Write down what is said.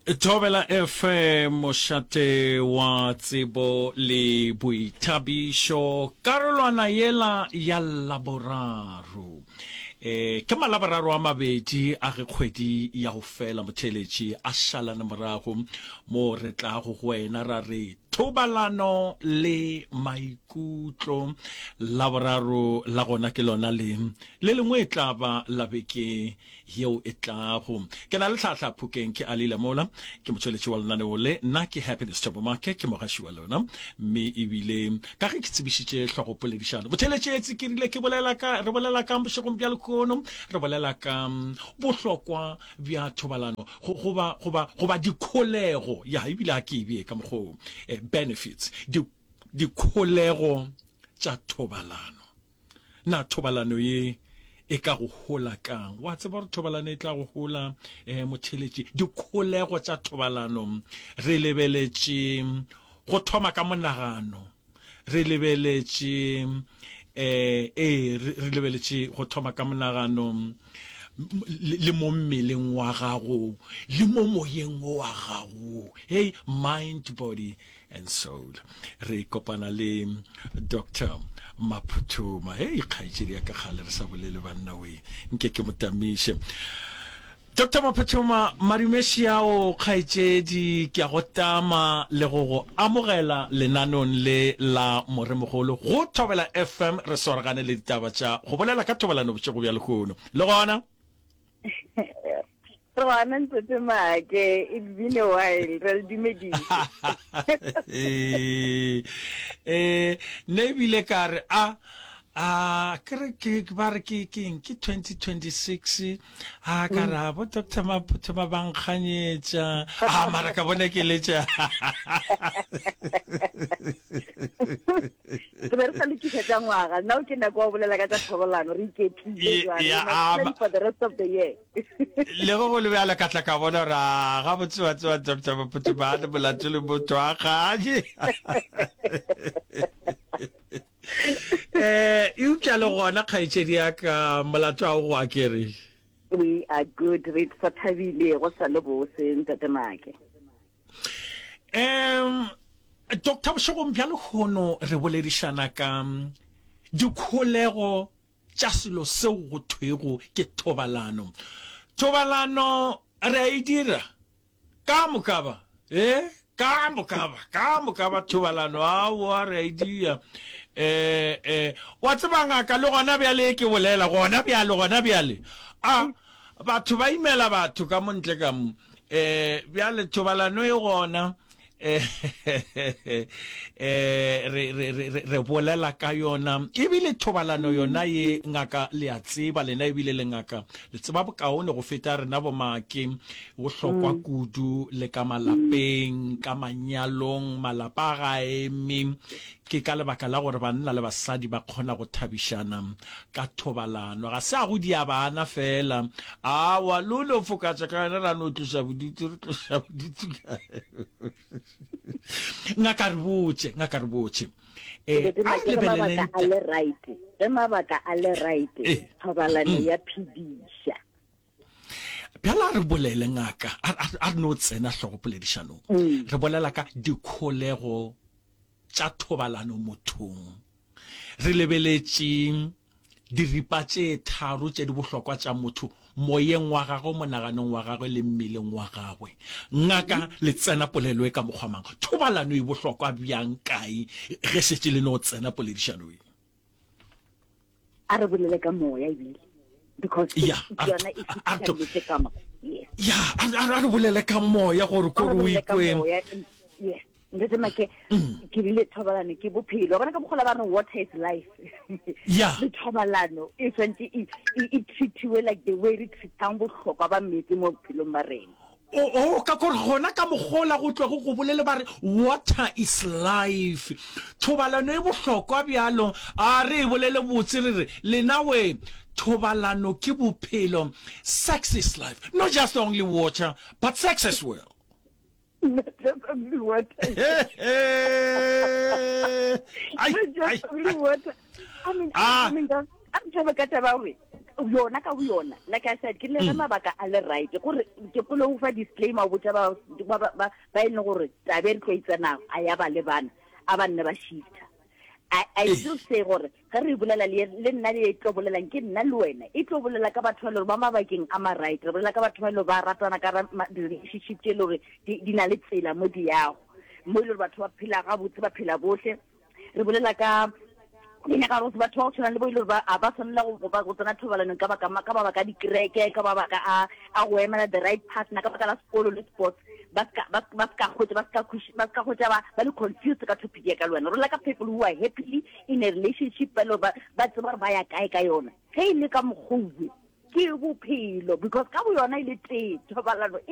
Thobela FM, mošate wa tsebo le boithabišo, karolwana yela ya Laboraro. E, ke Malaboraro a mabedi a ge kgwedi ya go fela motheeletši a šalane morago, mo re tlago go wena ra re thobalano le maikutlo. Laboraro la gona ke lona le, le lengwe e tla ba la beke yeo e tlago. Ke na le tlhahla Phokeng, ke Ali Lamola, ke motšweletši wa lenaneo le. Nna ke Happiness Thabo Make, ke mogaši wa lona. Mme ebile ka ge ke tsebišitše hlogopoledišano, botheletšetsi, ke rile ke bolela ka, re bolela ka bošegong bja lehono, re bolela ka bohlokwa bja thobalano, go, goba, goba, goba dikholego, ya, ebile a ke e bee ka mokgwa wo, eh, benefits, di, dikholego tša thobalano. Na thobalano ye e ka go hola kang? Wa tseba gore thobalano e tla go hola eh, motheletši. Dikholego tša thobalano re lebeletše go thoma ka monagano, re lebeletše eh, ee, re lebeletše go thoma ka monagano le mo mmeleng wa gago le mo moyeng wa gago. Hey, mind, body and soul. Re kopana le Doctor Maphuthuma. Hei, kgaetšedi ya ka kgale re sa bolele banna we. Nke ke mo tamiše. Doctor Maphuthuma, madumeši ao kgaetšedi, ke a go tama le go go amogela lenaneong le la Moremogolo go Thobela FM. Re swaragane le ditaba tša go bolela ka thobalano bošego bja lehono. Le gona? Re gona Ntate Make, it's been a while, re le dumedise. Eh, eh, nna ebile ka re a a ke re ke ba re ke keng ke 2026 a ka re a bo Doctor Maphutho ba bankganyetša a mara ka bona ke letša Re be re sa lokiša tša ngwaga. Now ke nako ya go bolela ka tša thobalano, re iketlile jwale. We must plan for the rest of the year. Le ge go le bjalo ka tla ka bona gore a gabotse wa tseba Doctor Maphuthi ba le molato le motho a ganye. Eh, eupša le gona kgaetšedi ya ka molato a o go akere. We are good, re sa thabile go sa le bose Ntate Make. Um Doctor bošegong bja lehono re boledišana ka dikholego tša selo seo go thwego ke thobalano. Thobalano re a e dira ka moka ba, e ka moka ba, ka moka ba thobalano aowa re a e dira. Eh, eh, wa tseba ngaka le gona bjale ke bolela gona bjale gona bjale a batho ba imela batho ka mo ntle ka mo eh bjale thobalano e gona eh eh re re re re bolela ka yona ebile thobalano yona ye ngaka le a tseba lena ebile le ngaka le tseba bokaone go feta rena bomake bohlokwa mm. kudu le ka malapeng ka manyalong malapa ga eme ke ka lebaka la gore banna le basadi ba kgona go thabišana ka thobalano. Ga se a go dia bana feela. Aowa, le o no fokatša ka yona ra no tloša bodutu, re tloša bodutu ka Ngaka re botše, ngaka re botše. Eh, a re lebeleleng a le right. Ge mabaka a le right, eh. thobalano mm. ya phediša. Bjale a re bolele ngaka, a re no tsena hlogo poledišanong. Mm. Re bolela ka dikholego tša thobalano mothong. Re lebeletše diripa tše tharo tše di bohlokwa tša motho, moyeng wa gagwe, monaganong wa gagwe le mmeleng wa gagwe. Ngaka, le tsena polelo e ka mokgwa mang? Thobalano e bohlokwa bjang kae ge šetše le no tsena poledišano e? A re bolele ka moya ebile because Ya, a re- yona e a re- fitlheletse ka mo. Yes. Ya, a a- a re bolele ka moya gore A ko re re o bolele ka ikwe. moya, yes. Ntate Make, ke rile thobalano ke bophelo. Wa bona ka mokgwa o ba reng water is life. Yeah. Le thobalano e tshwanetse e, e, e treatiwe like the way re treatang bohlokwa ba meetse mo bophelong ba rena. O, o, ka gore gona ka mokgola go tlogo go bolele ba re water is life. Thobalano e bohlokwa bjalo. A re e bolele botse re re, lena we, thobalano ke bophelo. Sex is life. Not just only water, but sex as well. Not just only water. Ai, Not ai, just only ai. water. I mean, Ah. I mean, a re tšhabe ka taba gore Yona ka boyona, like I said, ke le ge mabaka a le right, gore ke kgone go fa disclaimer go botša ba ba ba ba e leng gore taba e re tlo e tsenago a ya ba lebana, a ba nne ba shifter. I, I still say gore ge re bolela le le nna le e tlo bolelang ke nna le wena, e tlo bolela ka batho ba e le gore ba mabakeng a ma right, re bolela ka batho ba e le gore ba ratana ka di-relationship tše e le gore di di na le tsela mo di yago, mo e le gore batho ba phela gabotse, ba phela bohle. Re bolela ka ke nyaka gore batho ba go tshwana le bo e le gore ba a ba tshwanela go ba go tsena thobalanong ka baka ka mabaka a dikereke, ka mabaka a a go emela the right partner, ka baka la sekolo le sports, ba ska ba ba ska hwetša ba ska ba ska hwetša ba ba le confused ka topic ya ka le wena. Re bolela ka people who are happily in a relationship ba le gore ba ba tseba gore ba ya kae ka yona. Ge e le ka mokgwa owe ke bophelo because ka boyona e le tee thobalano e.